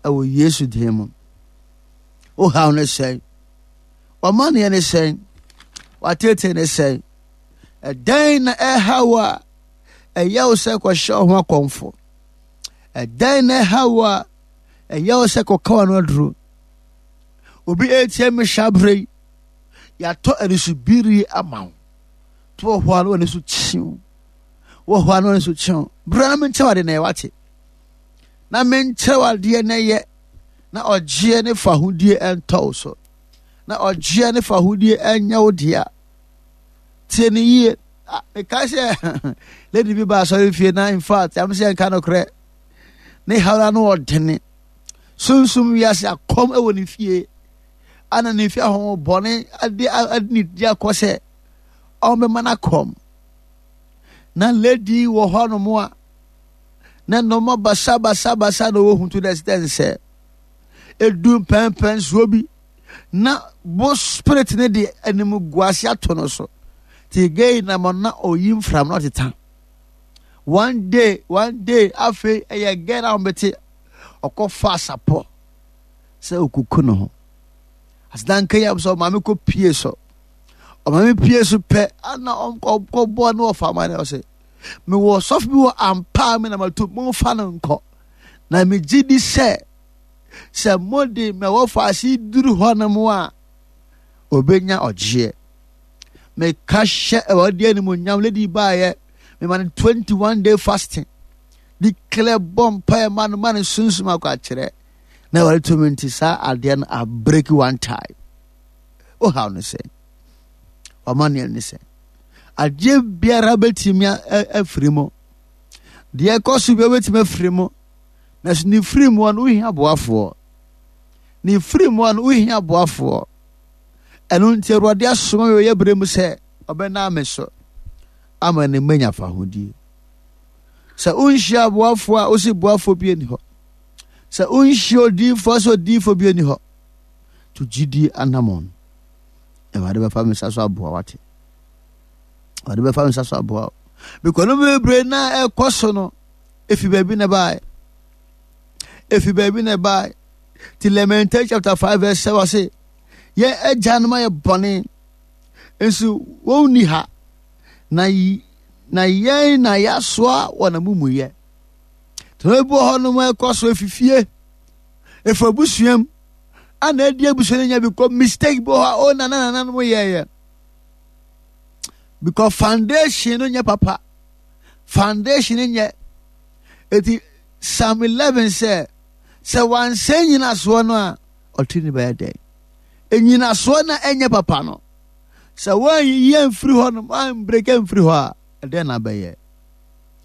Ɛwɔ Yesu din mu. Wo haw ne sɛn? W'amanneɛ ne sɛn? W'ateetee ne sɛn? Ɛdɛn na ɛha wo a ɛyɛ wo sɛ kɔhyɛ wo ho akɔmfo? Ɛdɛn na ɛha wo a ɛyɛ wo sɛ kɔka w'ano aduro? Obi etie me hyɛ abere yi, yɛatɔ anisobiri ama wo. To wɔ hɔ a na w'ani so kyew. Wɔ hɔ a na w'ani so kyew. Bra na menkyerɛ wo ade na ɛyɛ wate. Na menkyerɛ wo adeɛ na ɛyɛ na ɔgyeɛ ne fahodie ɛntɔ wo so. Na ɔgyeɛ ne fahodie ɛnyɛ wo dea. Tie ne yie. Ah, mekae sɛ lady bi ba asɔre fie na in fact am sɛ nka nokorɛ ne hawra no ɔdene sunsum wiase akɔm wɔ ne fie ana ne fie ahonhommɔne ade ade ne di akɔ sɛ ɔmbɛma no akɔm na lady wɔ hɔnom a na nneɛma basabasabasa na ɔwɔ hu to the extent sɛ edu mpɛnpɛnsoɔ bi na bo spirit ne de animguase ato no so ti gay na mo na oyi mfram na ɔteta one day one day afei ɛyɛ gay na wɔbɛte ɔkɔ fa asapɔ sɛ okuku ne ho asedanka yi sɛ ɔmaame kɔ pie so ɔmaame pie so pɛ ana ɔkɔ bɔ ne ɔfa ama ne ɔsɛ mewɔ sɔfo bi wɔ ampa me na mato momfa no nkɔ na megye di sɛ sɛ mode mɛwɔ faase duru hɔ nom a obenya ɔgyeɛ meka hyɛ awurade animonyam lady baayɛ mema no 21 day fasting declare bɔ mpaeɛ ma no ma no sunsum akɔ akyerɛ na awurade tumi nti saa adeɛ no abreki one time wohaw no sɛ wama neɛ ne sɛ adeɛ biara bɛtumi afiri mu deɛ ɛkɔ so biara bɛtumi afiri mu na so ne firi mu no wohia boafoɔ ne firi mu no wohia boafoɔ ɛno nti awurade asoma me ɔyɛ berɛ mu sɛ ɔbɛnaa me so ama ne manya fahodie Sɛ wonhyia aboafoɔ a, wosi boafoɔ bi ani hɔ. Sɛ wonhyia odiyifoɔ sɛ odiyifoɔ bi ani hɔ. To gyidie anamɔn. Awurade bɛfa me nsa so aboa wate. Awurade bɛfa me nsa so aboa wo. Because no bebree na ɛkɔ so no, efi baabi na ɛbaeɛ. Efi baabi na ɛbaeɛ. Ti Lamentation chapter 5 verse 7 ɔse, yɛn agyanom ayɛ bɔne, nso wɔn nni ha. Na na yɛn na yɛasoa wɔn amumuyɛ. Tena bi wɔ hɔnom ɛkɔ so efifie, efi abusua mu, ana adi abusua no nya bi kɔ mistake bi wɔ hɔ a o nana nananom yɛɛyɛ. Because foundation no nyɛ papa, foundation no nyɛ. Eti Psalm 11 sɛ, sɛ wansɛ nyinasoɔ no a, ɔtiri ne bɛyɛ dɛn? Enyinasoɔ na ɛnyɛ papa no. Sɛ woanyiyi amfiri hɔ nom, woambreki amfiri hɔ a, ɛdɛn na abɛyɛ?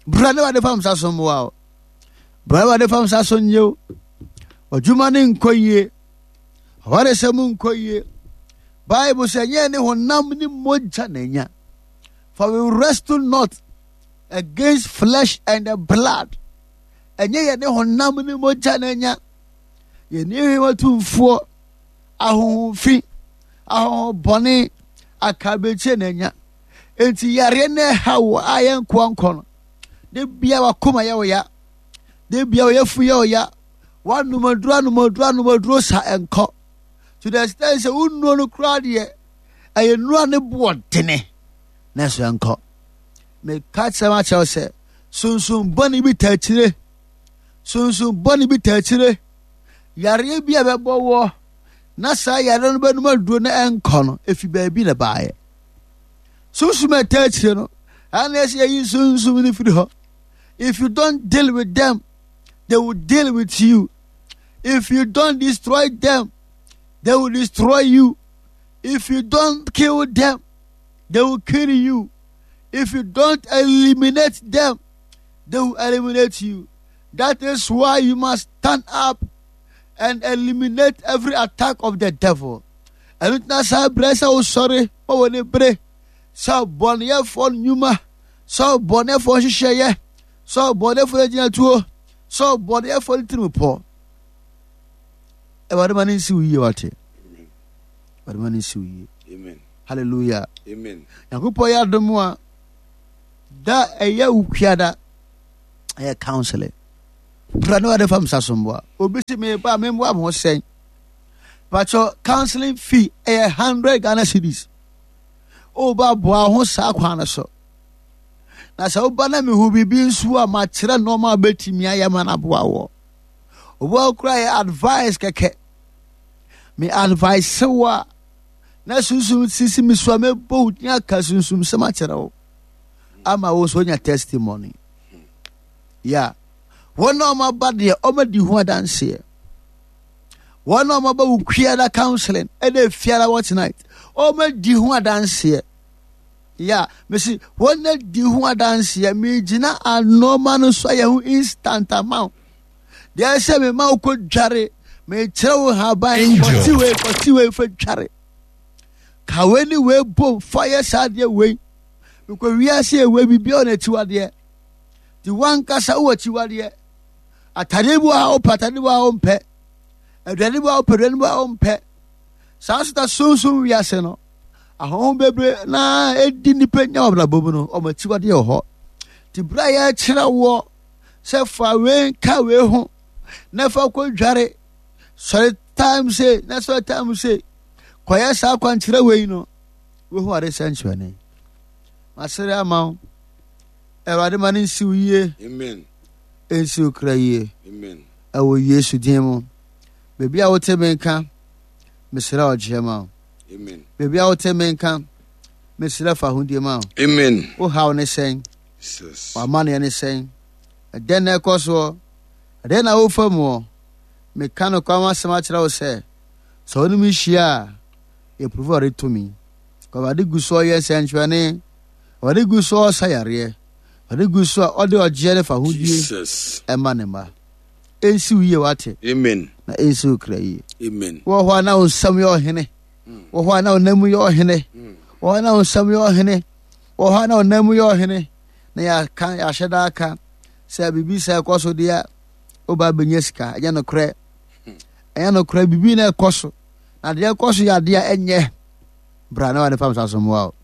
Bra ne wade fam sa so mmoa wo. Bra ne wade fam sa so nye wo. Ɔdwuma ne nkɔ yie. Awaresɛm nkɔ yie. Bible sɛ nyɛ ne honam ne mogya na anya. For we wrestle not against flesh and the blood. Ɛnyɛ yɛ ne honam ne mogya na anya. Yɛne hwɛ tumfoɔ ahonhom fi, ahonhom bɔne, akabekyie na anya. Enti yareɛ no ɛha wo a yɛ nkoa nkɔ no. De bia wakoma yɛ wo ya. De bia ɔyɛfu yɛ wo ya. Wanom aduro anom aduro anom aduro sa ɛnkɔ. To the extent sɛ wonnuo no koraa deɛ ɛyɛ nnuro a ne boɔ dene na ɛso ɛnkɔ. Meka kyerɛ m akyerɛ wo sɛ sunsun bɔne bi taa akyire. Sunsun bɔne bi taa akyire. Yareɛ bi a ɛbɛbɔ woɔ na saa yareɛ no bɛnum aduro na ɛnkɔ no efi baabi na baayɛ. Sunsum a ɛtaa akyire no ɛna ɛsɛ yɛyi sunsum no firi hɔ. If you don't deal with them, they will deal with you. If you don't destroy them, they will destroy you. If you don't kill them, they will kill you. If you don't eliminate them, they will eliminate you. That is why you must stand up and eliminate every attack of the devil. Ɛno ntina saa berɛ sɛ wosɔre ma wɔ ne bere sɛ ɔbɔneyɛfoɔ nnwuma, sɛ ɔbɔneyɛfoɔ nhyehyɛeɛ, sɛ ɔbɔneyɛfoɔ agyinatuo, sɛ ɔbɔneyɛfoɔ ne tirimupɔ. Awurade ma ne nsi wo yie wate. Awurade ma ne nsi wo yie. Amen. Hallelujah. Amen. Nyankopɔn yɛ adom a da ɛyɛ wo kuada ɛyɛ counseling. Bra na Awurade fa me nsa so mmoa. Obi se meba a memmoa me ho sɛn? Pakyɛ counseling fee ɛyɛ 100 Ghana cedis. Woba boa ho saa kwan no so. Na sɛ woba na mehu biribi nso a makyerɛ nneɛma a bɛtumi ayɛ ma no aboa wɔ. Obi a kura yɛ advice kɛkɛ. Me advice wo a na sunsum sisi me so a mɛbɔ wo din aka sunsum sɛm akyerɛ wo ama wo nso wonya testimony. Yeah. Wɔn a wɔaba deɛ wɔadi ho adanseɛ. Wɔn a wɔaba wo kuada counseling ɛna efiara watch night wɔadi ho adanseɛ. Yeah, mesi wɔn adi ho adanseɛ megyina anɔɔma no so ayɛ ho instant ama wo. Deɛ ɛsɛ me ma wokɔ dware mekyerɛ wo haban kɔte wei kɔte wei fa dware. Ka wei ne wei bom fa yɛ saa adeɛ wei. Mekɔ wiase ewei biribiara wɔ n'akyiwadeɛ. Nti wankasa wowɔ akyiwadeɛ. Atadeɛ bi wɔ ha wopɛ, atadeɛ bi wɔ ha wompɛ. Aduane bi wɔ ha wopɛ, aduane bi wɔ ha wompɛ. Saa nso ta sunsum wiase no, ahonhom bebree na edi nnipa nya wɔ abrabɔ mu no, wɔn akyiwadeɛ wɔ hɔ. Nti berɛ a yɛrekyerɛ woɔ sɛ fa wei nka wei ho na fa kɔ dware sɔre time sei na sɔre time sei kɔyɛ saa kwankyerɛ wei no, wohu ade sɛnkyerɛnne. Masere ama wo. Awurade ma no nsi wo yie. Amen. Nsi wo kra yie. Amen. Ɛwɔ Yesu din mu. Baabi a wote me nka, mesrɛ ɔgyeɛ ma wo. Amen. Baabi a wote me nka, mesrɛ fa ahodie ma wo. Amen. Wo haw ne sɛn? Jesus. W'amanneɛ ne sɛn? Ɛdɛn na ɛkɔ soɔ? Ɛdɛn na wofa muɔ? Meka nokware ho asɛm akyerɛ wo sɛ, sɛ wo ne me hyia a, yɛprove Awurade tumi. Awurade gu so ɔyɛ nsɛnkyerɛnne. Ɔde gu so ɔsa yareɛ. Ɔde gu so a ɔde ɔgyeɛ ne fahodie ɛma ne mma. Ɛnsi wo yie wate. Amen. Na ɛnsi wo kra yie. Amen. Wɔ hɔ a na wo nsam yɛ ɔhene. Wɔ hɔ a na wo nan mu yɛ ɔhene. Wɔ hɔ a na wo nsam yɛ ɔhene. Wɔ hɔ a na wo nan mu yɛ ɔhene. Na yɛaka yɛahyɛ da aka sɛ biribi sɛ ɛkɔ so deɛ woba bɛnya sika. Ɛnyɛ nokorɛ. Ɛnyɛ nokorɛ biribi na ɛkɔ so. Na deɛ ɛkɔ so yɛ adeɛ a ɛnyɛ. Bra na wɔde fam sa so mmoa wo.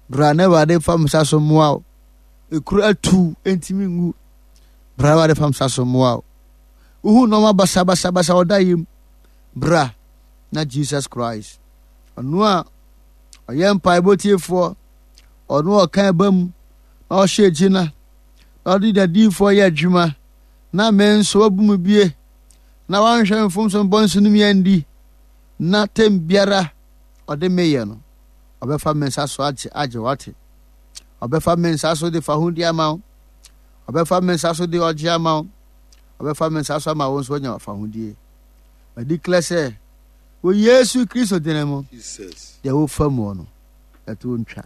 Bra na Awurade fa me nsa so mmoa wo. Ekuro atu ntumi ngu. Bra na Awurade fa me nsa so mmoa wo. Wohu nneɛma basabasabasa ɔda yam. Bra na Jesus Christ. Ɔno a ɔyɛ mpaebɔ tiefoɔ, ɔno a ɔka ɛba mu, na ɔhyɛ gyina, na ɔde dadiifoɔ yɛ adwuma, na me nso wabu mu bie, na wanhwɛ mfomso mbɔ nso no mi andi, na tɛm biara ɔde meyɛ no. Ɔbɛfa me nsa so agye agye wate. Ɔbɛfa me nsa so de fahodi ama wo. Ɔbɛfa me nsa so de ɔgye ama wo. Ɔbɛfa me nsa so ama wo nso anya fahodie. Ma declare sɛ wɔ Yesu Kristo dene mu deɛ wofa mu no ɛto ntwa.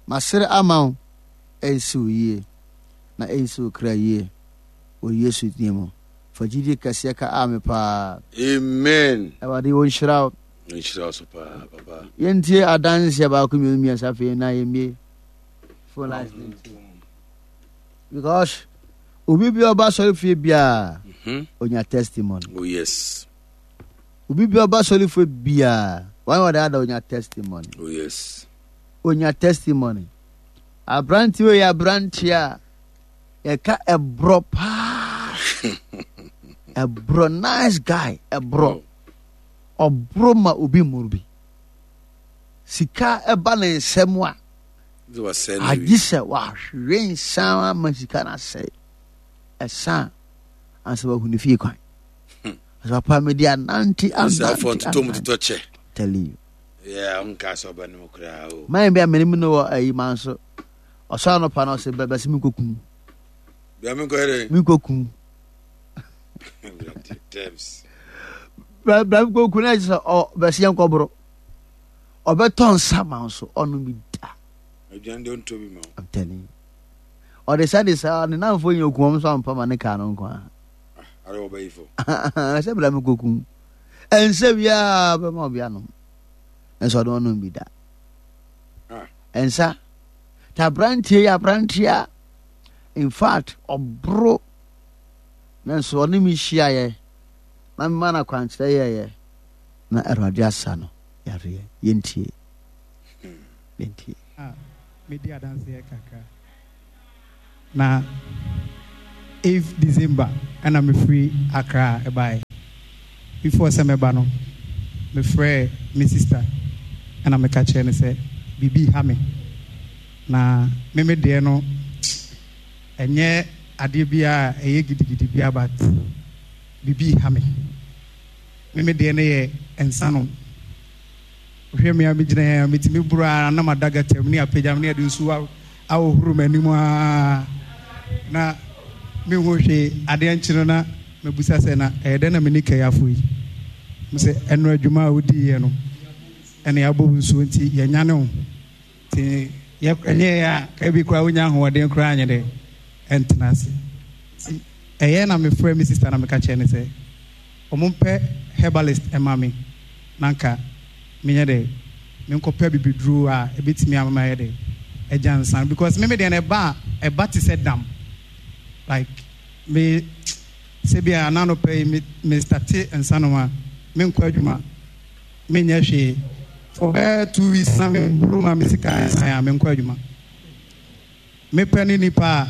Masere ama wo ɛnsi wo yie na ɛnsi wo kra yie wɔ Yesu din mu. Fa gyidie kɛseɛ ka ame paa. Amen. Awurade ɔnhyira wo. Nhyira wo so paa papa. Yɛntie adanseɛ baako mmienu mmiɛnsa afei na yɛmmie phone lines no nti. Because obi bi ɔba sɔre fie biara onya testimony. Oh yes. Obi bi ɔba sɔre fie biara wɔn wɔde ada onya testimony. Oh yes. Onya testimony. Aberante wei yɛ aberante a yɛka ɛborɔ paa. Ɛborɔ nice guy ɛborɔ. Oh. Ɔboro ma obi mmoro bi. Sika ba ne nsam a, agye sɛ wahwe nsa ama sika no asɛe. Ɛsa a, ansa wahu ne fie kwan. Hmm. Ɔsɛ papa mede anante anante anante. Tell you. Yeah, nka sɛ ɔbɛ no koraa o. Man bi a mene mu no wɔ ayi man so. Ɔsɔ anɔpa no ɔsɛ bɛsɛ menkɔkum. Bia menkɔyɛ dɛ. Menkɔkum. Bra koku na sɛ ɔ bɛsi yɛn kɔboro ɔbɛtɔ nsa ma nso ɔno bi da. Aduane de ɔntɔ bi ma wo. I'm telling you. Ɔde sa de sa ne nanfo nyɛ oku wɔn nso ampa ma ne kaa no nko ara. Ah, are ɔbɛyi fo. Sɛ bra mi koku. Ɛnsɛ biara bɛma ɔbi anom. Nso ɔde ɔnom bi da. Ah. Ɛnsa. Ta aberanteɛ yɛ aberanteɛ a in fact ɔboro Nanso ɔne me hyiaeɛ na mema no akwankyerɛ yɛeɛ na Awurade asa no yareɛ. Yɛntie. Yɛntie. A medi adanseɛ kakra. Na 8th December ɛna mefiri Accra ɛbaeɛ. Before sɛ mɛba no, mefrɛɛ me sister ɛna meka kyerɛɛ no sɛ biribi ha me. Na me me deɛ no ɛnyɛ adeɛ biara a ɛyɛ gidigidi biara but biribi ha me. Me me deɛ no yɛ nsanom. Wohwɛ me a megyina yi a, metumi boro ara na mada gata mu ne apagya me ne yɛde nsuo ahohoro m'anim ara na menhu hwee. Adeɛ nkye no na mabisa sɛ na ɛyɛ dɛn na me ne kayafo yi? Mo sɛ ɛno adwuma a wodiiɛ no ɛna yɛabɔ wo nsuo nti yɛnyane wo. Nti ɛnyɛ yɛ a ka bi koraa wonya ahoɔden koraa anyɛ dɛ ɛntena ase. Nti ɛyɛ na mefrɛ me sista na meka kyerɛ no sɛ Wɔmpɛ herbalist mma me na nka menyɛ dɛ menkɔpɛ abibiduro a ɛbɛtumi ama mayɛ dɛ agya nsa no because me me deɛ no ɛba a ɛba te sɛ dam like me sɛ bi a ananɔpɛ yi me me starte nsa nom a menkɔ adwuma menyɛ hwee for bɛyɛ 2 weeks na meboro ma me sika nsan a menkɔ adwuma mepɛ ne nipa a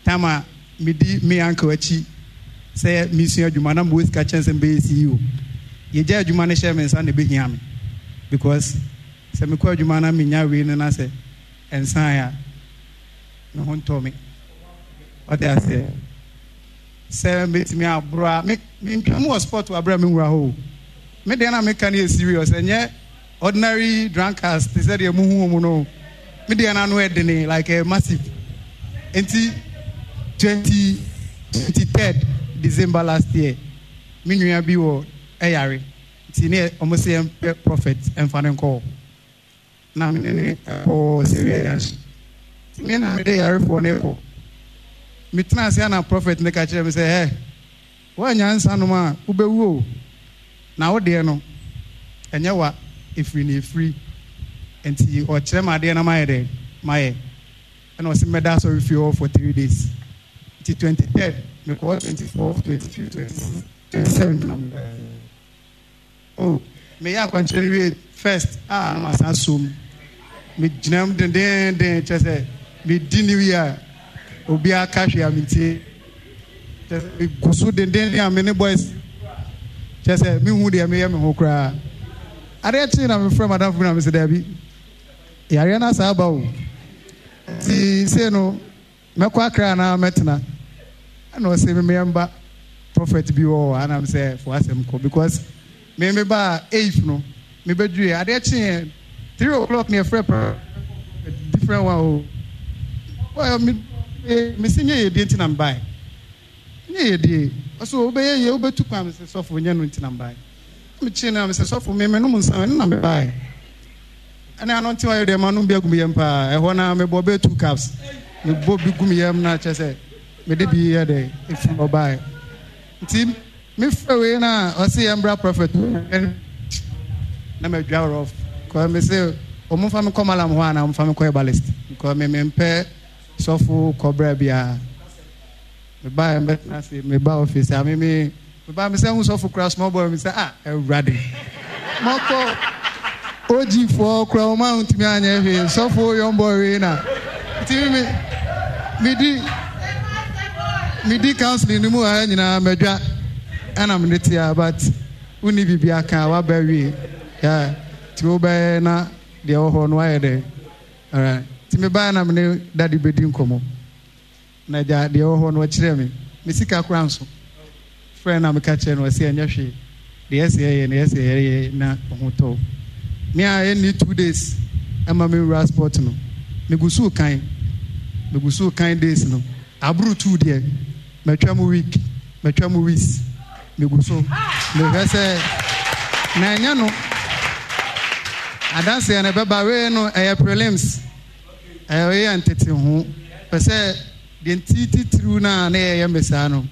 Time a medi me uncle akyi sɛ mesua adwuma na mewɔ sika kyɛn sɛ mebɛyɛ CEO. Yɛgyaa adwuma no hyɛɛ me nsa na ɛbɛhia me because sɛ mekɔ adwuma na menya wei no na sɛ ɛnsaeɛ a me ho ntɔ me. Ɔte aseɛ? Sɛ mɛtumi aboro a me mentwa mu wɔ sport wɔ aberɛ a menwura hɔ o. Me deɛ na meka no yɛ serious ɛnyɛ Ordinary drunkards te sɛ deɛ muhu wɔn no, me deɛ no ano ɛdene like ɛyɛ massive. Nti 23rd December last year, me nua bi wɔ ɛyare nti ne wɔn sɛ yɛn pɛ prophet ɛnfa no nkɔ hɔ. Na me ne ne ɛkɔ Syria junction. Nti me na mede yarefoɔ no kɔ. Me tena ase ana prophet no ka kyerɛ me sɛ ɛ. Woannya nsa nom a, wobɛwu o. Na wo deɛ no, ɛnyɛ wa, ɛfiri na ɛfiri. Nti ɔkyerɛ me adeɛ na mayɛ dɛn? Mayɛ. Ɛna ɔse mɛda asɔrefie hɔ for 3 days. Nti 23rd, mekɔɔ 24th, 25th, 26th, 27th na mebaeɛ. Oh, meyɛ akwankyerɛ no wie first a na masan asɔ mu. Megyina mu dendeenden kyerɛ sɛ medi New Year a obiara ka hwee a mentie. Kyerɛ sɛ megu so dendeenden a me ne boys kyerɛ sɛ menhu deɛ meyɛ me ho koraa. Adeɛ kyee na mefrɛ madamfo bi na mese daabi, yareɛ no asan aba o. Nti sei no Mɛkɔ Accra anaa mɛtena? Ɛna ɔse me mɛmba prophet bi wɔ hɔ ana mesɛ fo asɛm kɔ because me me baa eighth no me bɛduru yɛ adeɛ kyeeɛ 3 o'clock ne yɛfrɛ prophet different one o well me me se nyɛ yɛ die nti na mebae nyɛ yɛ die ɔso wobɛyɛ yie wobɛtu kwan mesɛ sɔfo nyɛ no nti na mebae mekyee no a mesɛ sɔfo me menom nsa ɛno na mebae Ɛne ano nte ɔyɛ deɛ manom bi agu me yam paa. Ɛhɔ no ara mebɔɔ bɛyɛ two cups. Mebɔ bi gu me yam na kyerɛ sɛ mede bi yɛ dɛ ɛfiri hɔ baeɛ. Nti mefrɛ wei no a ɔse yɛmbra prophet na madwa rough. Kɔ me se wɔn mfa me kɔ malam hɔ anaa wɔn mfa me kɔ herbalist. Kɔ me mempɛ sɔfo kɔbra biara. Mebaeɛ mɛtena ase meba office a me me mebaa me sɛ hu sɔfo kura small boy me sɛ ah awurade mɔkɔ OG foɔ kura wɔn a ntumi anyɛ hwee sɔfo young boy wei na nti me medi medi counseling no mu ha nyinaa madwa ɛna mede tea but wonni biribi aka a waba wie yeah nti wobɛyɛ na deɛ ɛwɔ hɔ no wayɛ dɛ alright nti mebaeɛ na mene daddy bɛdi nkɔmmɔ. Na agya, deɛ ɛwɔ hɔ no, ɔkyerɛɛ me. Me sika koraa nso. Frɛ no na meka kyerɛɛ no, ɔse ɛnyɛ hwee. Deɛ ɛsɛ yɛyɛ no, ɛsɛ yɛyɛ na wo ho tɔ wo. Me a ɛnni 2 days ɛma me nwura spot no, megu so rekan. Megu so rekan days no. Aboro two deɛ, matwa mu week, matwa mu weeks. Megu so mehwɛ sɛ na ɛnyɛ no. Adanseɛ no ɛbɛba, wei no ɛyɛ prelims. Ɛyɛ yɛ nteteho. Pɛ sɛ deɛ nti titiriw no a na yɛyɛ me saa no,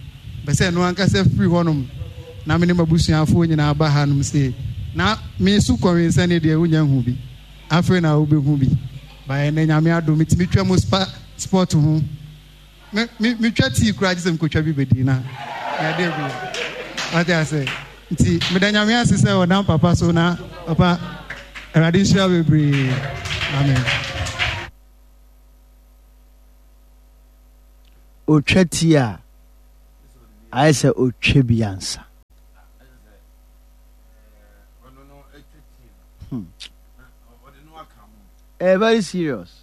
pɛ sɛ ɛno ankasa firi hɔnom na me ne m'abusuafoɔ nyinaa ba hanom sei. Na me so kɔnwensɛne deɛ wonya hu bi. Afei na wobɛhu bi. Ba ɛnɛ Nyame adom metumi twa mu spa sport ho. Me me metwa tii koraa gye sɛ mekɔtwa bi bɛdi na yɛade bi. Wate ase? Nti meda Nyame ase sɛ ɔnam papa so na papa Awurade nhyira bebree. Amen. Otwa ti a, ayɛ sɛ otwa bi ansa. Hmm. Eh, very serious.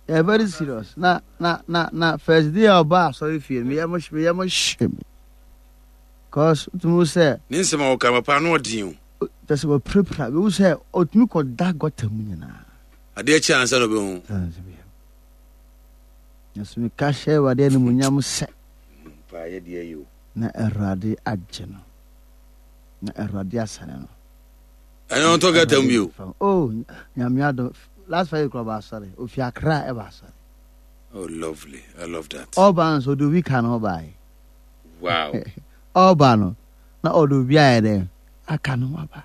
Eh, very serious. Na na na na first day a ɔba asɔre fie no, meyɛ mo meyɛ mo hye me. Cause tumi sɛ. Ne nsɛm a ɔka papa no ɔden o. Kyɛ sɛ wɔpirapira, mehu sɛ ɔtumi kɔda gɔta mu nyinaa. Adeɛ kye ansa na ɔbɛhu. Nanso meka hyɛ Awurade animuonyam sɛ. Na Awurade agye no. Na Awurade asane no. Ɛnyɛ ɔntɔ gata mu bio. Oh, nyame adom. Last Friday kura ɔba asɔre. Ofi Accra ɛba asɔre. Oh, lovely. I love that. Ɔba nso ɔde obi ka no ɔbaeɛ. Wow. Ɔba no na ɔde obi ayɛ dɛ aka no aba.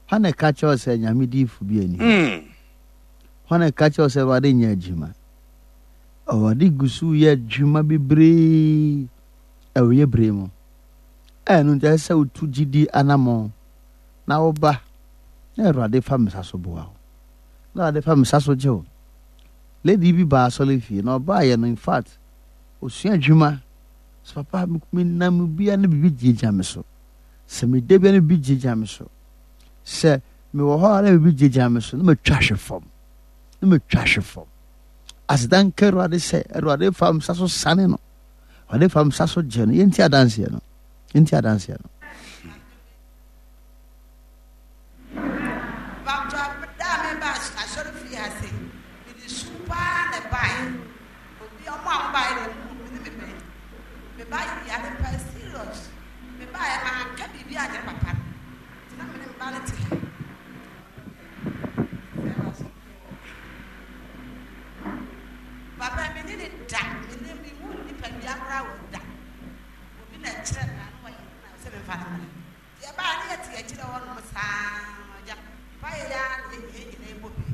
Hwan na ɛka kyerɛ sɛ nyame diifo bi ani hɔ? Hmm. Hwan na ɛka kyerɛ sɛ Awurade nyɛ adwuma? Awurade gu so yɛ adwuma bebree ɛwɔ yɛ bere mu. Ɛno nti ɛsɛ sɛ wotu gyidi anammɔn na woba na Awurade fa me sa so boa wo. Na Awurade fa me sa so gye wo. Lady bi baa asɔre fie na ɔbaayɛ no in fact osua adwuma. So papa menam bia na biribi gyinagyina me so. Sɛ meda bia na biribi gyinagyina me so. Sɛ mewɔ hɔ a na biribi gyinagyina me so na matwa ahwe fam. Na matwa ahwe fam. Aseda nka Awurade sɛ Awurade fa me sa so sane no. Awurade fa me sa so gye no. Yɛnti adanseɛ no. Yɛnti adanseɛ no. Papa me ne ne da me ne me hu nipadua koraa wɔ da obi na kyerɛ me ano wɔyɛ na sɛ me fa no mmra nti ɛbaa ne yɛte akyirɛ hɔ nom saa agya mpa yɛ ya na yɛ nyina ɛbɔ bi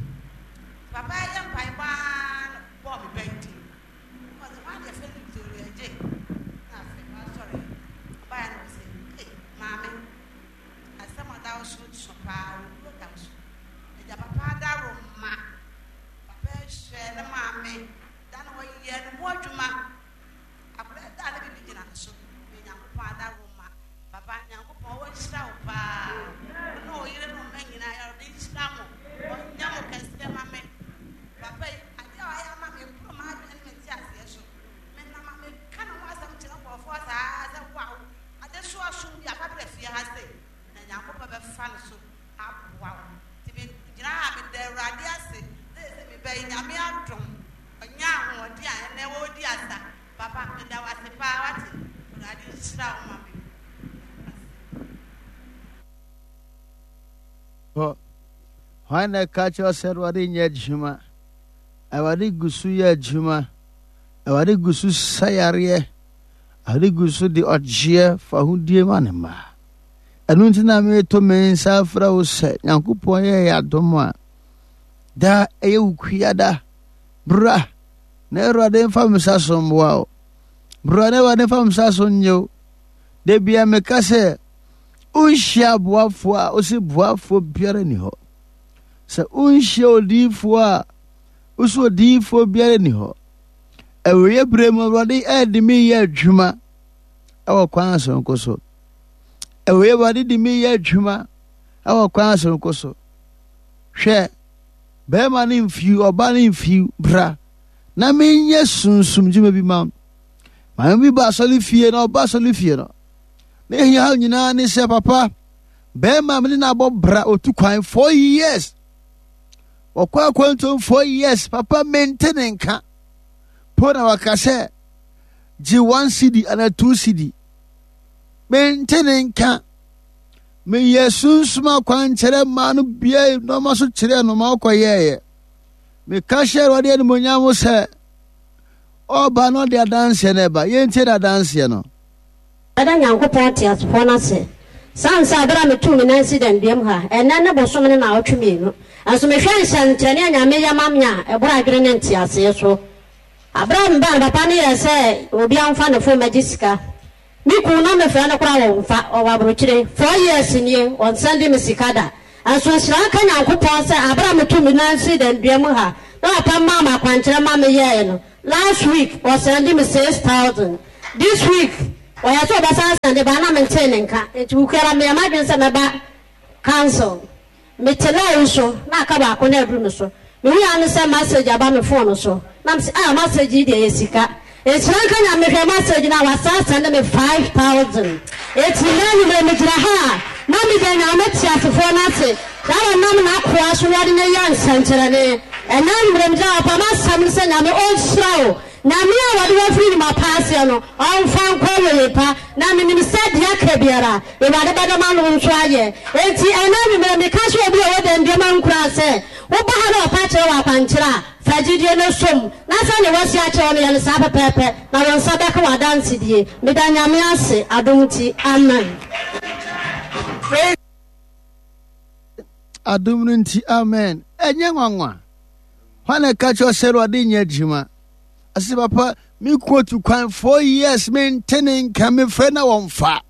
papa yɛ mpaebɔ aa na bɔɔ me bɛn din ɔsɛ hwan deɛ fɛ no Victoria gye na afei wasɔre ɔbaeɛ na ɔsɛ ee maame asɛm ɔda wo so so paa owuo da wo so agya papa adaro ma Papa hwɛ ne maame da na ɔyɛ ne ho adwuma. Akwadaa da na biribi gyina ne so. Yɛ Nyankopɔn adaworo ma. Papa Nyankopɔn ɔnhyira wo paa. Wo ne wo yere ne wo mma nyinaa Awurade nhyira mo. Ɔnyɛ mo kɛseɛ ma me. Papa yi adeɛ a ɔayɛ ama me ɛboro m'adwene ne me nteaseɛ so. Menam a meka ne ho asɛm kyerɛ nkurɔfoɔ saa sɛ wow adesoa so bi a fa brɛ fie ha sei na Nyankopɔn bɛfa ne so aboa wo. Nti me gyina ha a meda Awurade ase sɛ sɛ me ba yi Nyame adom ɔnya ahoɔden a ɛnɛ ɔredi asa. Papa meda wo ase paa wate. Awurade nhyira wo ma me. Hɔ. Hwan na ɛka kyerɛ sɛ Awurade nyɛ adwuma? Awurade gu so yɛ adwuma. Awurade gu so sa yareɛ. Awurade gu so de ɔgyeɛ fahodie ma ne mma. Ɛno nti na mereto me nsa afrɛ wo sɛ Nyankopɔn yɛ yɛ adom a daa ɛyɛ wo kuada. Bra na Awurade mfa me nsa so mmoa wo. Bra na Awurade mfa me nsa so nnye wo. Da bia meka sɛ wonhyia aboafoɔ a wose boafoɔ biara ni hɔ. Sɛ wonhyia odiyifoɔ a wose odiyifoɔ biara ni hɔ. Awieɛ berɛ mu Awurade ɛde me yɛ adwuma ɛwɔ kwan soronko so. Ɛwɔ Awurade de me yɛ adwuma ɛwɔ kwan soronko so. Hwɛ, bɛrima no mfiw, ɔba no mfiw, bra na menyɛ sunsum dwuma bi ma wo. Maame bi ba asɔre fie na ɔba asɔre fie no, ne hia nyinaa ne sɛ papa, bɛrima me ne no abɔ bra otu kwan 4 years. Wɔkɔ akwantuom 4 years, papa mente ne nka. Po na waka sɛ gye 1 cedi anaa 2 cedi. Mente ne nka. Meyɛ sunsum akwankyerɛ maa no bia nneɛma so kyerɛɛ no ma ɔkɔyɛeɛ. Meka hyɛ Awurade animuonyam sɛ ɔba no ɔde adanseɛ no ɛba. Yɛntie n'adanseɛ no. Mɛda Nyankopɔn teasefoɔ no ase, sane sɛ berɛ a metuu me nan sii danduam ha, ɛnnɛ ne bosome ne naawɔtwe mmienu, nso mehwɛ nsɛnkyerɛnne a Nyame yɛ ma me a, ɛboro adwene ne nteaseɛ so. Berɛ a mebaa no, papa no yɛɛ sɛ obiara mfa ne fon mmɛgye sika. Me kunu na mefrɛ no koraa ɔnfa, ɔwɔ abrokyire, 4 years nie ɔnsɛnde me sika da. Nso nhyira nka Nyankopɔn sɛ aberɛ a metuu me nan sii dandua mu ha na papa maa me akwankyerɛ ma me yɛɛe no, Last week ɔsɛnde me 6,000. This week ɔyɛ sɛ ɔbɛsan sɛnde ba na mentee ne nka. Nti wukuara meyɛ m'adwene sɛ mɛba council. Mete line so na aka baako na aduru me so. Mehui ara ne sɛ message aba me phone so. Na mese ah message yi deɛ ɛyɛ sika. Nhyira nka Nyame mehwɛ message no a wasan sɛnde me 5000. Enti nnɛ anwumerɛ megyina ha a na meda Nyame teasefoɔ no ase na ɔnam n'akoa so na ɔde no yɛ nsɛnkyerɛnne. Ɛnnɛ anwumerɛ megyina ha papa m'asɛm ne sɛ Nyame ɔnhyira wo. Nyame a wɔde wo afiri nnwuma pa aseɛ no ɔmfa nkɔ awieɛ pa. Na menim sɛ deɛ aka biara Awurade bɛda m'ano nso ayɛ. Enti ɛnnɛ anwummerɛ meka kyerɛ obi a ɔwɔ dɛndua ma nkuran sɛ, woba ha na wɔpa kyerɛ wo akwankyerɛ a, fa gyidie no som, na sɛdeɛ wɔasi akyerɛ wo no yɛ no saa pɛpɛɛpɛ, na wo nsa bɛka w'adansedie. Meda Nyame ase, adom nti. Amen. Adom no nti, amen. Ɛnyɛ nwanwa. Hwan na ɛka kyerɛ sɛ Awurade nyɛ adwuma? Ɔse papa me kunu atu kwan 4 years, mente ne nka, mefrɛ na wɔmfa.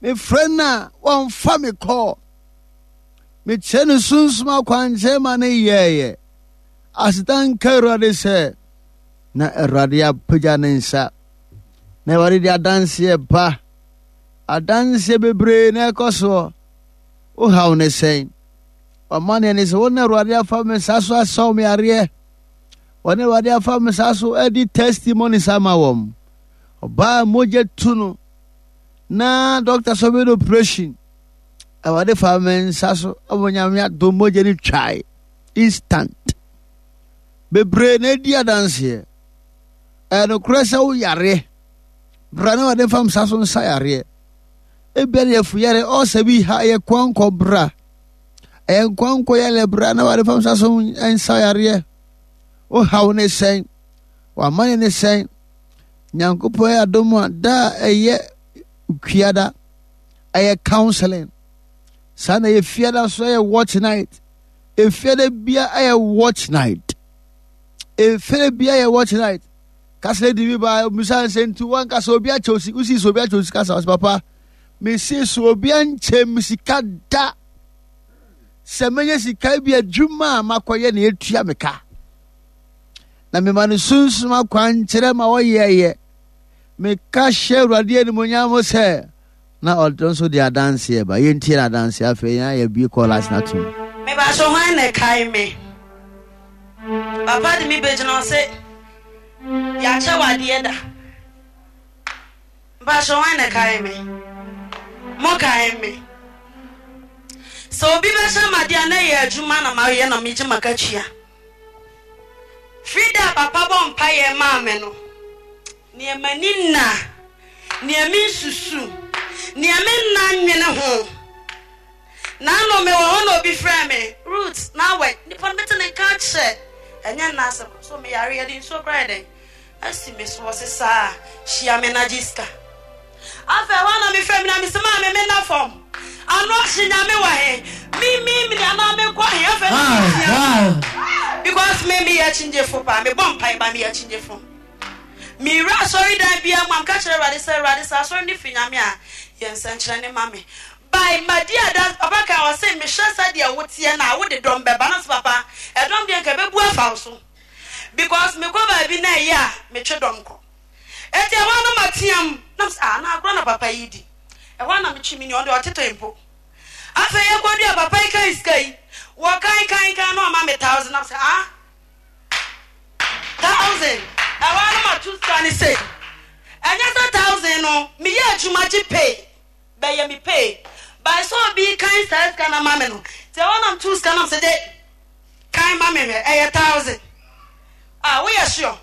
Mefrɛ no a wɔmfa me kɔɔ. Mekyerɛ no sunsum akwankyerɛ ma ne yɛɛyɛ. Aseda nka Awurade sɛ na Awurade apagya ne nsa. Na Awurade de adanseɛ ba. Adanseɛ bebree na ɛkɔ soɔ. Wohaw ne sɛn? Ɔmaneɛ ne sɛ wo na Awurade afa me nsa so asɔw me areɛ. Wɔne Awurade afa me nsa so adi testimonies ama wɔn. Ɔbaa mogya tu no na dɔkta sɛ ɔbɛyɛ no operation. Awurade fa me nsa so ɔmo Nyame adom mogya no twae instant. Bebree na edi adanseɛ. Ɛyɛ nokorɛ sɛ wo yareɛ. Bra na Awurade fa nsa so nsa yareɛ. Ebia ne yɛfo yare ɔsɛ bi ha ɛyɛ kwankɔ bra. Ɛyɛ nkwankɔ yare bra na Awurade fa nsa so nsa yareɛ. Wo haw ne sɛn? W'amane ne sɛn? Nyankopɔn yɛ adom a da a ɛyɛ kuada ɛyɛ counseling. Saa na ɛyɛ fiada so ɛyɛ watch night. Efiada bia ɛyɛ watch night. Efiada bia ɛyɛ watch night. Kasa di bi ba musa nsɛ nti wankasa obi akyɛ osi usi so obi akyɛ osi kasa ɔsɛ papa mesi so obi ankyɛ mi sika da sɛ menya sika bi adwuma a makɔyɛ na etua me ka. Na mema no sunsum akwankyerɛ ma ɔyɛeɛ. Meka hyɛ Awurade animuonyam sɛ na ɔno nso de adanseɛ ba. Yɛntie n'adanseɛ afei yɛn ayɛ bie kɔɔlas no atom. Mebaso hwan na ɛkae me? Papa de me bɛgyina ɔse yɛakyɛ wo adeɛ da. Mebaso hwan na ɛkae me? Mo kae me? Sɛ obi bɛhyɛ me adeɛ a na ɛyɛ adwuma na mayɛ na megye m'akatua. Firi da a papa bɔ mpaeɛ maa me no, neɛ m'ani nna, neɛ mensusu, neɛ menna nnwene ho. Naano mewɔ hɔ na obi frɛɛ me, Ruth, na awɛ, nipa no mete ne nka akyɛ, ɛnyɛ nna asɛm, so meyare, yɛde nsuo koraa yɛ dɛn asi me so, ɔse saa, hyia me na gye sika. Afei ɛhɔ na mefrɛ me na mese maame menna fam ano ahye Nyame wɔ he me me mene anaa menkɔ he afei na metia because me meyɛ akyingyefo paa mebɔ mpae ba meyɛ akyingyefo mewura asɔredan biara mu a meka kyerɛ Awurade sɛ Awurade sɛ asɔre no firi Nyame a yɛ nsɛnkyerɛnne ma me by madi adanse papa kan ɔse mehwɛ sɛdeɛ woteɛ no a wode dɔm bɛba na sɛ papa ɛdɔm deɛ nka ɛbɛbu afa wo so because mekɔ baabi na ɛyɛ a metwe dɔm kɔ Enti ɛhɔ ara na mateam, na mesɛ, ah, na agorɔ na papa yi di. Ɛhɔ ara na metwe me nua, ɔno deɛ ɔtetɔe mpo. Afei yɛkɔdua, papa yi kan sika yi, wɔkan kan kan na ɔma me thousand, na mesɛ, ah, thousand. Ɛhɔ ara na mato sika no sei. Ɛnyɛ sɛ thousand no, meyɛ adwuma gye pay, bɛyɛ me pay. By sɛ obi kan saa sika no ama me no, nti ɛhɔ ara na meto sika no, na mesɛ, de, kan ma me hwɛ, ɛyɛ thousand. Ah, woyɛ sure?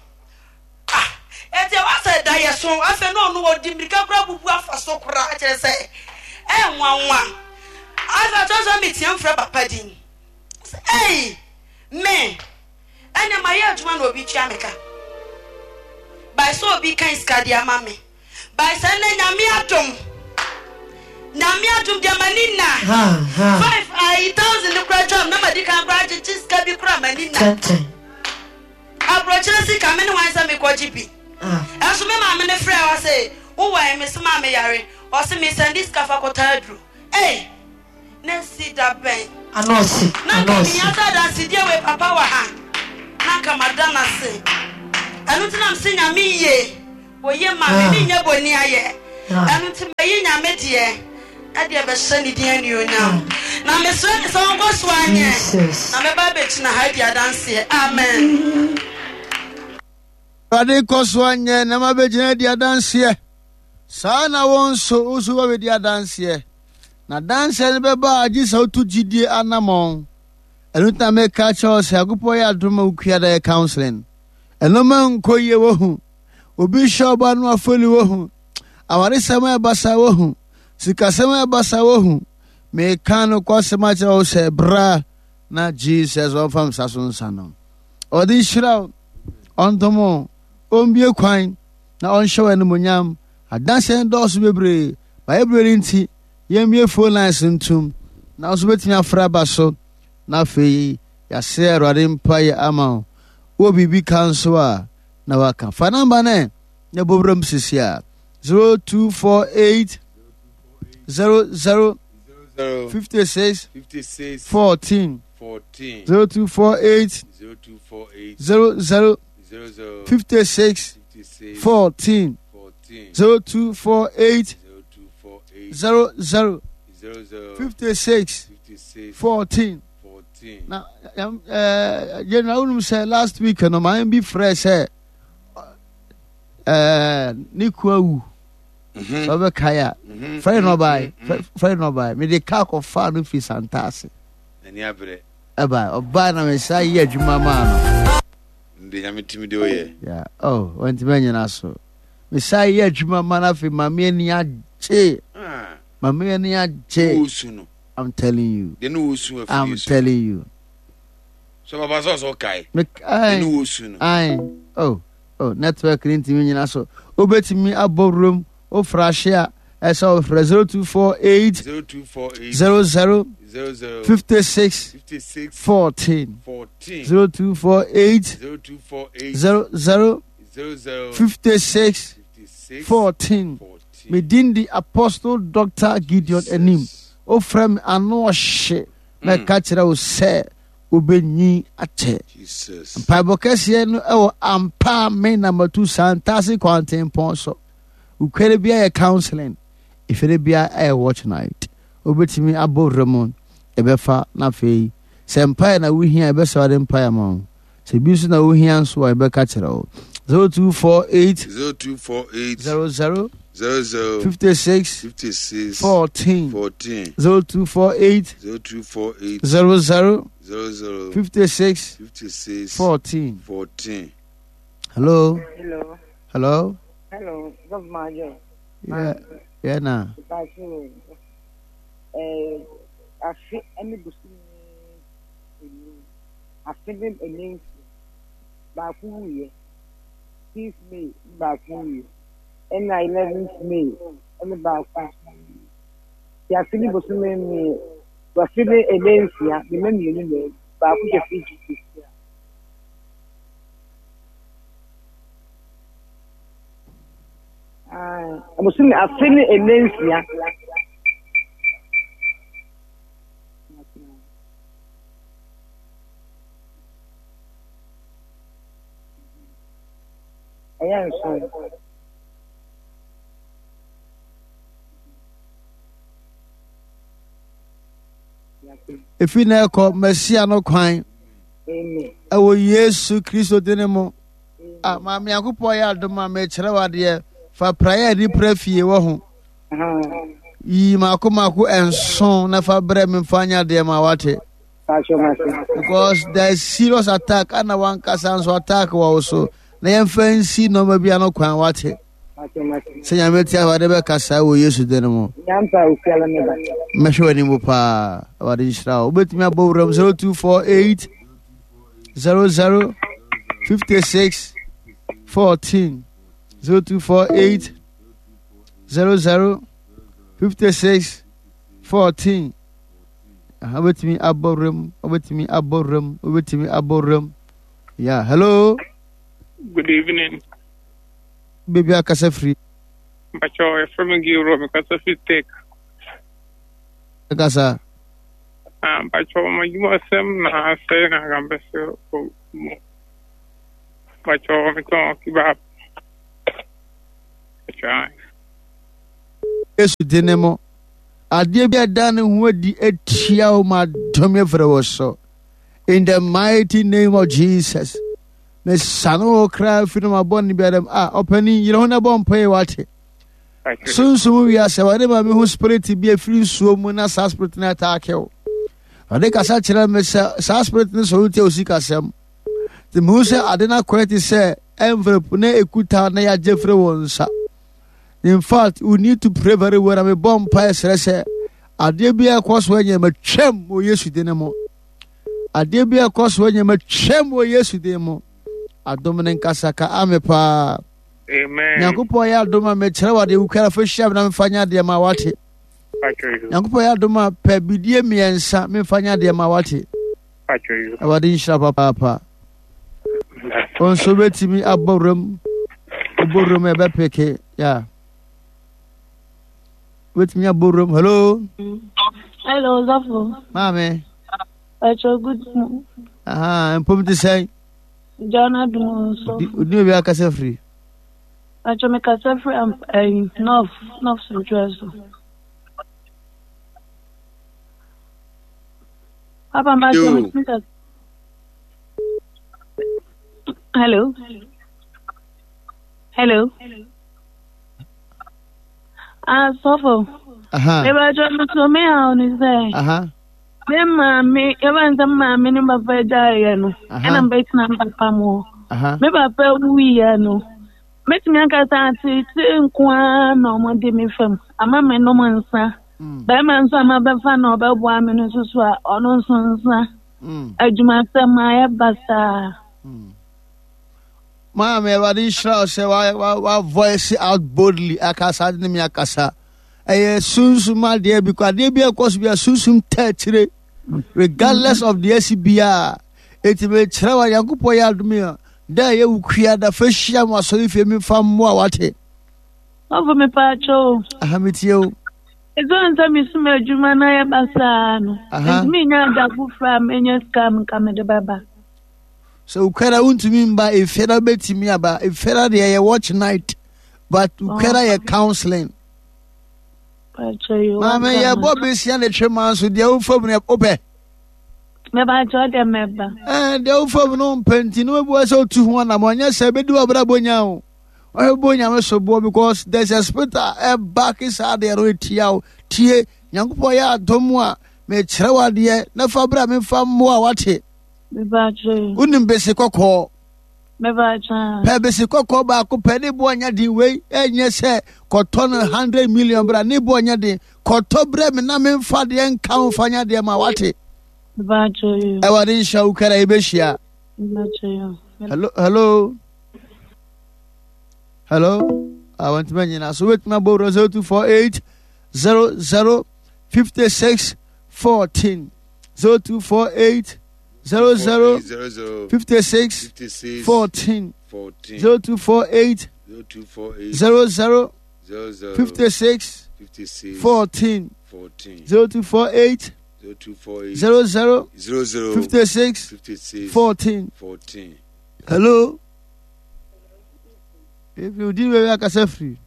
Ah, enti ɛwɔ sɛ da yɛ so. Afei na ɔno ɔdi mmirika koraa bubu afa so koraa kyerɛ sɛ ɛyɛ nwanwa. Afei ɔkyerɛ sɛ meteam frɛ papa din. Sɛ ei, me, ɛnna mayɛ adwuma na obi tua me ka. By sɛ obi kan sika de ama me. By sɛ nnɛ Nyame adom, Nyame adom deɛ m'ani nna. Five ayi thousand no koraa twam na madi kan koraa agyegye sika bi koraa m'ani nna. Aburokyire sika me ne hwan sɛ mekɔgye bi. Ɛnso me maame no frɛ ɔse wowɔ he mese maa meyare ɔse mesɛnde sika fa kɔtɔ aduro. Ei! Na esi da bɛn? Anɔɔse, Na nka anɔɔse. mehia sɛ adansedie wei papa wɔ ha na nka mada no ase. Ɛno nti na mese Nyame ye, oye ma me, menyɛ bɔni ayɛ. Ɛno nti mayi Nyame deɛ ɛde ɛbɛhyɛ ne din anuonyam. Na mesrɛ no sɛ ɔnkɔ so anyɛ, na mɛba abɛgyina ha adi adanseɛ. Amen. Awurade kɔ so anyɛ na mabɛgyina adi adanseɛ. Saa na wo nso, wo nso wobɛdi adanseɛ. Na adanseɛ no bɛba a gye sɛ wotu gyidie anammɔn. Ɛno nti na meka kyerɛ wo sɛ Nyankopɔn yɛ adom ma wokua da yɛ counseling. Ɛno ma nkɔ yie wohu. Obi hyɛ ɔba no afɔli wohu. Awaresɛm a ɛba saa wohu. Sikasɛm a ɛba saa wohu. Meka no kwasɛm akyerɛ wo sɛ bra na Jesus ɔmfa nsa so nsa no. Ɔde nhyira wo, ɔndom wo, ɔmbue kwan na ɔnhyɛ wo animuonyam. Adanseɛ no dɔɔso bebree. Bayɛ berɛ no nti, yɛmmue phone lines ntom na wo nso wobɛtumi afrɛ aba so na afei yɛasrɛ Awurade mpaeɛ ama wo. Wowɔ biribi ka nso a na waka. Fa namba no ɛ na bɔ wuram sisi a 0248 00 56 14 0248 00 56 14 0248 00 56 14 na general wonim sɛ last week no maame bi frɛ sɛ ne kua wu sɛ wobɛkae a frɛ no ɔbae frɛ no ɔbae mede kaa kɔfaa no firi Santase ɛbae ɔbae na mesa yɛ adwuma maa no Nde Nyame tumi de oyɛ. Yeah. Oh, wantumi anyina so. Mesan yɛ adwuma ma no afei maame ani agye. Ah. Maame ani agye. Wosu no. I'm telling you. De no wosu afiri I'm telling you. So papa sɛ ɔsɛ ɔkae. Me kae. De no wosu no. Aye. Oh, oh, network ni ntumi nyina so. Wobɛtumi abɔ wurom, wofra ahye a, ɛsɛ ɔfrɛ 0248 0248 00 00 56 56 14 14 0248 0248 00 00 56 56 14 14. Me din di Apostle Doctor Gideon Anim. Wofrɛ me ano ɔhye na ɛka kyerɛ wo sɛ wobɛnyin akyɛ. Jesus. Mpaebɔ kɛseɛ no ɛwɔ ampa me na matu Santase kwantempɔn so. Ukwere bia yɛ counseling, efere bia ɛyɛ watch night. Wobɛtumi abɔ wura mu, ɛbɛfa na afei sɛ mpaeɛ na wohia a ɛbɛsɛ wade mpaeɛ ama wo. Sɛ bi nso na wohia nso a yɛbɛka kyerɛ wo. 0248 0248 00 00 56 56 14 14 0248 0248 00 00 56 56 14. 14. Hello? Hello. Hello? Hello, Gov Majo. Yeah, yeah na. Bacho. Eh, afe ne bosome enum. Afe ne ɛnɛ nsia. Baako wuiɛ. Fifth May ne baako wuiɛ. Ɛna eleventh May ɛne baako nso wuiɛ. Nti afe ne bosome mmiɛ afe ne ɛnɛ nsia ne mma mmienu na awu. Baako hyɛ fridge mu sisi a. Ah, bosome afe ne ɛnɛ nsia. Ɛyɛ nson. Efi na ɛkɔ Mesia no kwan ɛwɔ Yesu Kristo din mu. Ah, maame Nyankopɔn yɛ adom a mekyerɛ wo adeɛ fa praeɛ a yɛde pra fie wɔ ho. Yi mako mako nson na fa brɛ me mfa nyɛ adeɛ ma wate. Because there is serious attack ana wankasa nso attack wɔ wo so na yɛmfa nsi nneɛma bi ano kwan wate. Sɛ nyame te awade bɛkasa wɔ Yesu din mu. Mɛhwɛ w'anim paa awade nhyira wo. Wobɛtumi abɔ wuram 0248 00 56 14 0248 00 56 14 wobɛtumi abɔ wuram wobɛtumi abɔ wuram wobɛtumi abɔ wuram yeah hello good evening baabi akasa firi mpakyɛ yɛfrɛ me gilro mekasa firi tek kasa ah, mpakyɛ ɔma adwumasɛm na asɛe na anka mpɛ sɛ mu. Pacho, metɔn kebab. Pacho. Yesu din ne mu. Adeɛ bi a ɛda ne ho adi atia wo ma dɔm afiri wo so. In the mighty name of Jesus. Mesane wo kra firi no mabɔ ne biara mu. Ah, ɔpanin, yere ho na bɔ mpae wate. Sunsum wiase, wɔde ma me ho spirit bi afiri nsuo mu na saa spirit no ataake wo. Ɔde kasa kyerɛ me sɛ saa spirit no sɔre tia osikasɛm. Nti mehu sɛ ade no akɔyɛ te sɛ envelope na ekuta na yɛagye firi wo nsa. In fact, we need to pray very well. Na mebɔ mpae srɛ sɛ adeɛ bi a ɛkɔ so nyɛ matwam wɔ Yesu din mu. Adeɛ bi a ɛkɔ so nyɛ matwam wɔ Yesu din mu. Adom ne nkasa ka ame paa. Amen. Nyankopɔn yɛ adom a mekyerɛ wo adeɛ wokura fa hyia me na memfa nyɛ adeɛ ma wate. Nyankopɔn yɛ adom a pɛ bidie mmiɛnsa memfa nyɛ adeɛ ma wate. Awurade nhyira papaapa. Wo nso wobɛtumi abɔ wuram wobɔ wuram ɛbɛpeke ya wobɛtumi abɔ wuram hello. Hello Zafo. Maame. Ɛkyɛ good morning. Aha mpom te sɛn. John Adum nso. Odi obi akasa firi. Ɛkyɛ me kasa firi ɛyi North North Central so. Papa mbakyɛ me tumi kasa. Hello. Hello. Ah, sɔfo. Aha. Mbakyɛ me so me ha ni sɛ. Aha. Me maame, yɛba nsɛ me maame ne papa gyaeɛ no. Ɛna mbɛtena me papa mu. Aha. Me papa wuiɛ no. Mɛtumi aka sɛ ateetee nko ara na wɔde me fam ama menom nsa. Mm. Bɛrima nso a mabɛfa na ɔbɛboa me no nso so a ɔno nso nsa. Mm. Adwumasɛm ayɛ basaa. Mm. Maame Awurade nhyira wo sɛ wa wa voice out boldly akasa de ne me akasa. Ɛyɛ sunsum adeɛ bi kɔ adeɛ bi ɛkɔ so bi a sunsum tɛ akyire regardless of the asi biara. Eti mekyerɛ wa Nyankopɔn yɛ adom a Da a ɛyɛ wo kua da fa hyia mu asɔre fie mi fa mmoa wate. Ɔfo me pa akyɛ o. Aha me tie o. Ɛsiane sɛ mesum adwuma na yɛ basaa no. Ntumi nya ada foforɔ a menya sika a nka mede bɛba. Sɛ wo kura wontumi mba efie na wobɛtumi aba. Efie na deɛ yɛ watch night but wo kura yɛ counseling. Maame yɛbɔ besia ne twema nso deɛ wofa mu no wopɛ. Mebakyɛ deɛ mɛba. Ɛɛ deɛ wofa mu no mpɛ nti no wobua sɛ wotu ho anam ɔnyɛ sɛ bɛdi w'abrabɔ nya o. Ɔbɛbɔ nyame so boɔ because there's a spirit a ɛbake saa deɛ no ɛtia wo. Tie Nyankopɔn yɛ adom a mekyerɛ wo adeɛ na fa berɛ a memfa mmoa wate. Wonim bese kɔkɔɔ. Pɛ bese kɔkɔɔ baako pɛ ne boɔ nyɛ den wei ɛnyɛ sɛ kɔtɔ no 100 million bra ne boɔ nyɛ den kɔtɔ brɛ me na memfa deɛ nka ho fa nya deɛ ma wate. Awurade nhyira wo kara yɛbɛhyia. Hello hello hello awantumi anyina so wobɛtumi abɔ wura 0248 00 56 14 0248 00 56 14 0248 00 56 14 0248 00 56 14 Hello If you did where akasa free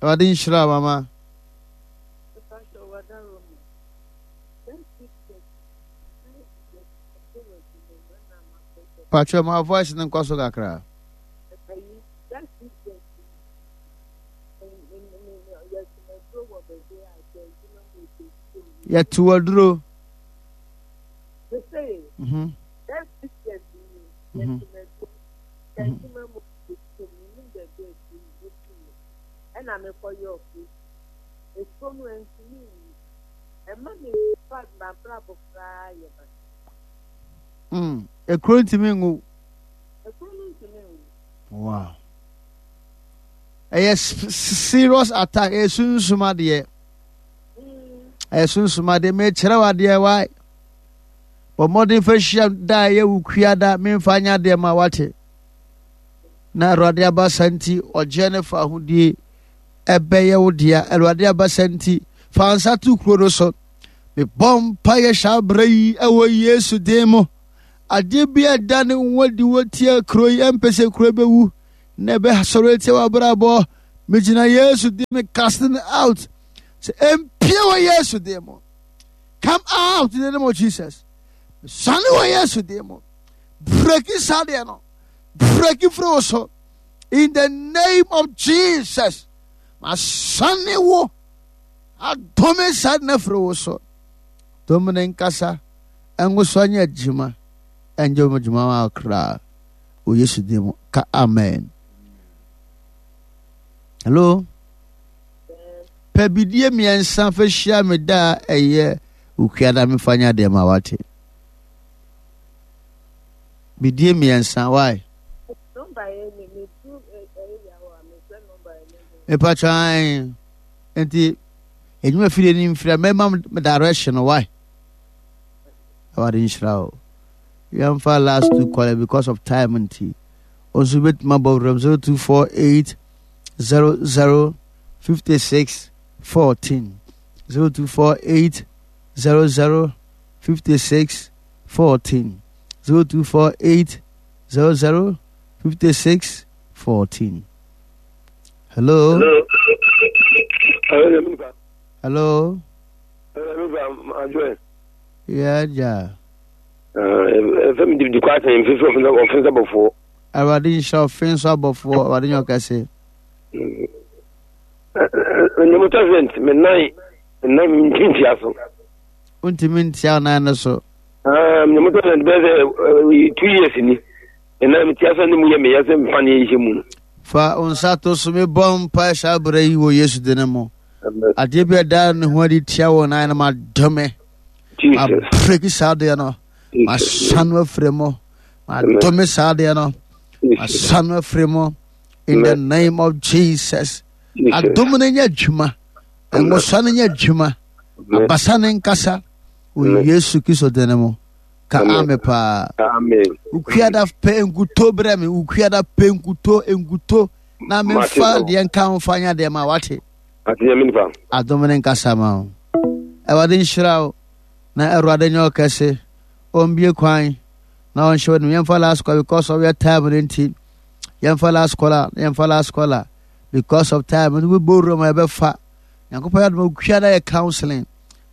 Awurade nhyira mama Patro ma voice no nkɔ so kakra. Yɛto aduro. Mhm. Mhm. Mm. Ekuro ntumi ngu. Wow. Ɛyɛ serious attack. Ɛyɛ sunsum adeɛ. Ɛyɛ sunsum adeɛ. Mekyerɛ wo adeɛ wae. Bɔ mmɔden fa hyia da a ɛyɛ wo kua da memfa nyɛ adeɛ ma wate. Na Awurade abasa nti ɔgyeɛ ne fa ahodie ɛbɛyɛ wo dea. Awurade abasa nti fa nsa to kuro no so. Mebɔ mpaeɛ hyɛ aberɛ yi ɛwɔ Yesu din mu. Adeɛ bi a ɛda ne ho adi wɔ tia kuro yi, ɛmpɛ sɛ kuro bɛwu na ɛbɛsɔre atia w'abrabɔ. Megyina Yesu din me casting out. Sɛ ɛmpie wɔ Yesu din mu. Come out in the name of Jesus. Sane wɔ Yesu din mu. Breki saa deɛ no. Breki firi wo so. In the name of Jesus. Masane wo. Adome saa na firi wo so. Dom ne nkasa. Ɛnwoso anyɛ adwuma. Ɛnyɛ wɔn adwuma ma koraa. Wɔ Yesu din mu. Ka amen. Hello. Pɛ bidie mmiɛnsa fa hyia me da a ɛyɛ okuada mefa nyɛ adeɛ ma wate. Bidie mmiɛnsa why? Mepatwan nti edwuma fidie ni mfiri a mɛma me direction why? Awurade nhyira o. Yɛmfa last two caller because of time nti. Nso bɛtumi abɔ wuram 0248 00 56 14 0248 00 56 14 0248 00 56 14 Hello. Hello. Yeah, yeah. Fɛn mi di kɔ asɛn nfi so ɔfin sɛ bɔfoɔ. Awurade nhyira ɔfin so abɔfoɔ Awurade nyɛ ɔkɛse. Ɛnyɛ president me nan nan mi ntumi ntia so. Ntumi ntia nan no so. Nyɛ president bɛyɛ sɛ 2 years ni. Me nan mi tia so ne mu yɛ meyɛ sɛ nfa ne yɛ mu no. Fa nsa to so mebɔ mpa saa berɛ yi wɔ Yesu din mu. Adeɛ bi a ɛda ne ho adi tia wɔ nan no madome. Mabreki saa adeɛ no. Masan no afiri mu. Madome saa adeɛ no. Masan no afiri mu. In the name of Jesus. Adom no nyɛ adwuma. Nwosa no nyɛ adwuma. Abasa no nkasa. Wɔ Yesu Kristo din mu. Ka ame paa. Wokuada pɛ nkuto brɛ me. Wokuada pɛ nkuto nkuto na memfa deɛ nka ho fa nya deɛ ma wate. Adom ne nkasa ma wo. Awurade nhyira wo na Awurade nyɛ ɔkɛse. Ɔmbie kwan na ɔnhyɛ w'anim. Yɛmfa last call because of your time no nti. Yɛmfa last call a yɛmfa last call a because of time no bɛbɔ wura mu a yɛbɛfa. Nyankopɔn yɛ adom okua na yɛ counseling.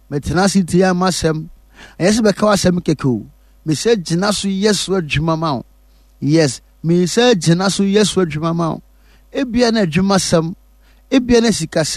Metena ase tie ama asɛm. Ɛnyɛ sɛ bɛka w'asɛm kɛkɛ o. Mesɛ gyina so yɛ so adwuma ma wo. Yes, mesɛ gyina so yɛ so adwuma ma wo. Ebia na adwumasɛm, ebia na sikasɛm.